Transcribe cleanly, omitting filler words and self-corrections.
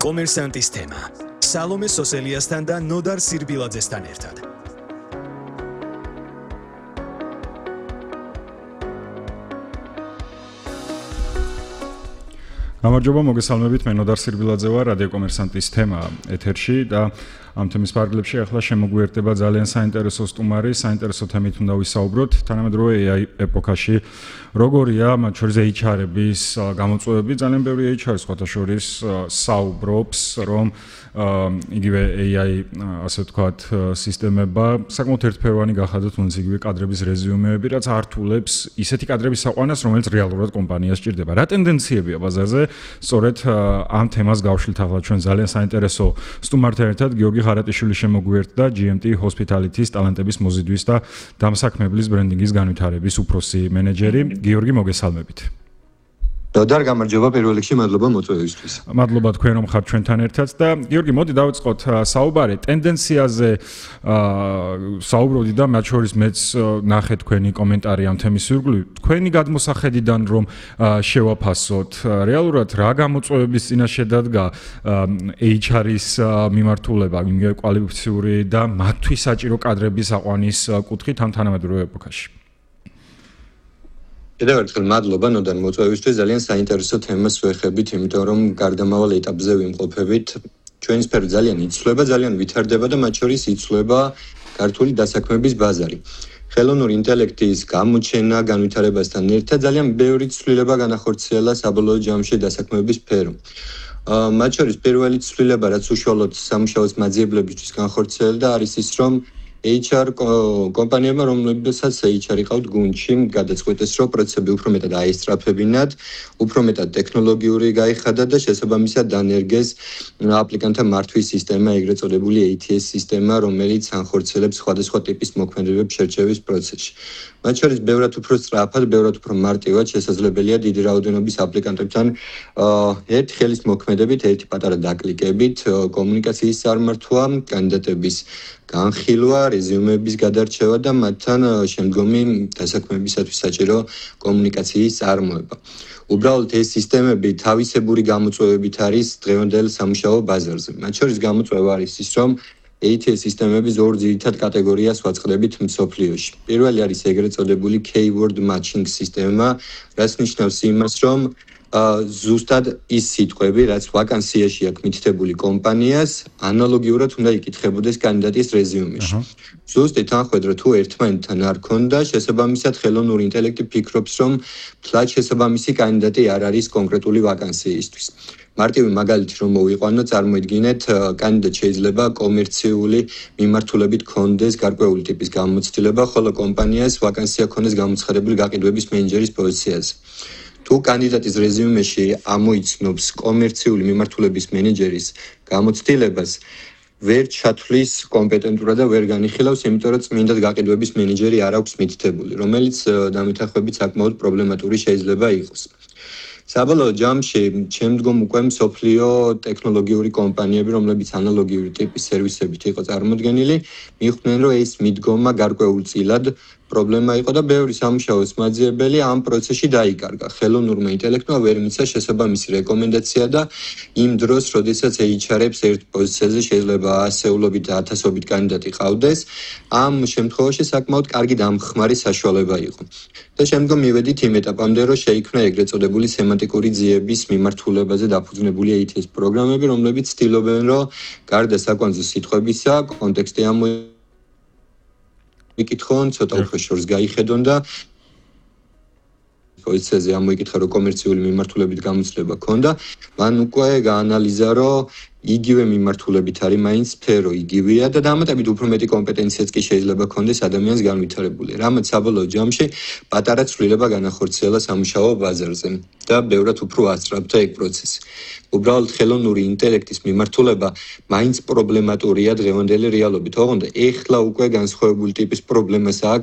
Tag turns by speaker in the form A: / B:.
A: კომერსანტის თემა. სალომე სოსელიასთან და ნოდარ სირბილაძესთან ერთად.
B: გამარჯობა, მოგესალმებით, მე ნოდარ სირბილაძე ვარ, რადიო კომერსანტის თემა ეთერში და ამ თემის ფარგლებში ახლა შემოგვიერთდება ძალიან საინტერესო სტუმარი, საინტერესო თემით უნდა ვისაუბროთ, თანამედროვე AI ეპოქაში როგორია, მათ შორის HR-ების გამოწვევები, ძალიან ბევრი HR სხვათა შორის საუბრობს, რომ იგივე AI, ასე ვთქვათ, სისტემება საკმაოდ ერთფეროვანი გახადოთ, თუნდაც იგივე კადრების რეზიუმეები, რაც ართულებს ისეთი კადრების საყვანას, რომელიც რეალურად კომპანიას სჭირდება. რა ტენდენციებია ბაზარზე? სწორედ ამ თემას გავშლით ახლა ჩვენ ძალიან საინტერესო სტუმართან ერთად გიორგი ხარატიშვილი შემოგვიერთდა GMT Hospitality-ის ტალანტების მოზიდვის და დამსაქმებლის ბრენდინგის განვითარების უფროსი მენეჯერი. გიორგი, მოგესალმებით.
C: ნოდარ, გამარჯობა პირველ რიგში, მადლობა მოწვევისთვის.
B: მადლობა თქვენ რომ ხართ ჩვენთან ერთად და გიორგი, მოდი დავიწყოთ საუბარი ტენდენციაზე საუბრობდი და მათ შორის მეც ნახე თქვენი კომენტარი ამ თემის ირგვლივ. თქვენი გადმოსახედიდან რომ შევაფასოთ, რეალურად რა გამოწვევების წინაშე დადგა HR-ის მიმართულება, იმ კვალიფიციური და მათთვის საჭირო კადრების აყვანის კუთხით ამ თანამედროვე ეპოქაში.
C: კიდევ ერთხელ მადლობა ნოდარ მოწვევისთვის, ძალიან საინტერესო თემას ვეხებით, იმიტომ რომ გარდამავალ ეტაპზე ვიმყოფებით. ჩვენი სფერო ძალიან იცვლება, ძალიან ვითარდება და მათ შორის იცვლება ქართული დასაქმების ბაზარი. ხელოვნური ინტელექტის გამოჩენა, განვითარებასთან ერთად ძალიან ბევრი ცვლილება განახორციელა საბოლოო ჯამში დასაქმების სფერო. მათ შორის პირველი ცვლილება, რაც უშუალოდ სამუშაოს მაძიებლებისთვის განხორციელდა, არის ის, რომ HR კომპანიებმა, რომლებსაც HR იყავთ გუნდში, გადაწყვეტეს, რომ პროცესები უფრო მეტად აესწრაფებინათ, უფრო მეტად ტექნოლოგიური გაიხადა და შესაბამისად დანერგეს აპლიკანტთა მართვის სისტემა, ეგრეთ წოდებული ATS სისტემა, რომელიც ანხორციელებს სხვადასხვა ტიპის მოქმედებებს შერჩევის პროცესში. მათ შორის ბევრად უფრო სწრაფად, ბევრად უფრო მარტივად შესაძლებელია დიდი რაოდენობის აპლიკანტებთან ერთი ხელის მოქმედებით, ერთი პატარა დაკლიკებით კომუნიკაციის წარმართვა, კანდიდატების განხილვა, რეზიუმეების გადარჩევა და მათთან შემდგომი დასაქმებისათვის საჭირო კომუნიკაციის წარმოება. უბრალოდ ეს სისტემები თავისებური გამოწვევებით არის დღევანდელ სამუშაო ბაზარზე. მათ შორის გამოწვევა არის ის, რომ ATS სისტემების ორ ძირითად კატეგორიას ვაწყდებით მსოფლიოში. პირველი არის ეგრეთ წოდებული keyword matching სისტემა, რაც ნიშნავს იმას, რომ ზუსტად ის სიტყვები, რაც ვაკანსიაში აქვს მითითებული კომპანიას, ანალოგიურად უნდა იკითხებოდეს კანდიდატის რეზიუმეში. ზუსტი თანხმედრა თუ ერთმანეთთან არ ქონდა, შესაბამისად ხელოვნური ინტელექტი ფიქრობს, რომ თლად შესაბამისი კანდიდატი არ არის კონკრეტული ვაკანსიისთვის. მარტივი მაგალითი რომ მოვიყვანო, წარმოიდგინეთ, კანდიდატ შეიძლება კომერციული მიმართულებით ქონდეს გარკვეული ტიპის გამოცდილება, ხოლო კომპანიას ვაკანსია ქონდეს გამოცხადებული გაყიდვების მენეჯერის პოზიციაზე. თუ კანდიდატის რეზიუმეში ამოიცნობს კომერციული მიმართულების მენეჯერის გამოცდილებას, ვერ ჩათვლის კომპეტენტურად და ვერ განიხილავს, იმიტომ რომ წმინდად გაყიდვების მენეჯერი არ აქვს მითითებული, რომელიც დამეთანხმებით საკმაოდ პრობლემატური შეიძლება იყოს. საბოლოო ჯამში შემდგომ უკვე მსოფლიო ტექნოლოგიური კომპანიები, რომლებიც ანალოგიური ტიპის სერვისებით იყო წარმოდგენილი, მიხვდნენ, რომ ეს მიდგომა გარკვეულწილად პრობლემა იყო და ბევრი სამუშაოს მაძიებელი ამ პროცესში დაიკარგა. ხელოვნურმა ინტელექტმა ვერ მიცა შესაბამისი რეკომენდაცია და იმ დროს, როდესაც HR-ებს ერთ პოზიციაზე შეიძლება ასეულობით და ათასობით კანდიდატი ყავდეს, ამ შემთხვევაში საკმაოდ კარგი დამხმარე საშუალება იყო. და შემდგომ მივედით იმ ეტაპამდე, რომ შეიქმნა ეგრეთ წოდებული სემანტიკური ძიების მიმართულებაზე დაფუძნებული ATS პროგრამები, რომლებიც ცდილობენ, რომ გარდა საკვანძო სიტყვებისა, კონტექსტი იკითხონ, ცოტა უფრო შორს გაიხედონ და პოზიციაზე ამოიკითხა, რომ კომერციული მიმართულებით გამოცდილება ქონდა, მან უკვე გაანალიზა, რომ იგივე მიმართულებით არის მაინც სფერო იგივეა და დამატებით უფრო მეტი კომპეტენციაც კი შეიძლება ქონდეს ადამიანს განვითარებული. რამაც საბოლოო ჯამში პატარა ცვლილება განახორციელა სამუშაო ბაზარზე და ბევრად უფრო ასწრაფდა ეგ პროცესი. უბრალოდ ხელოვნური ინტელექტის მიმართულება მაინც პრობლემატურია დღევანდელი რეალობით. ოღონდ ეხლა უკვე განსხვავებული ტიპის პრობლემას აქვს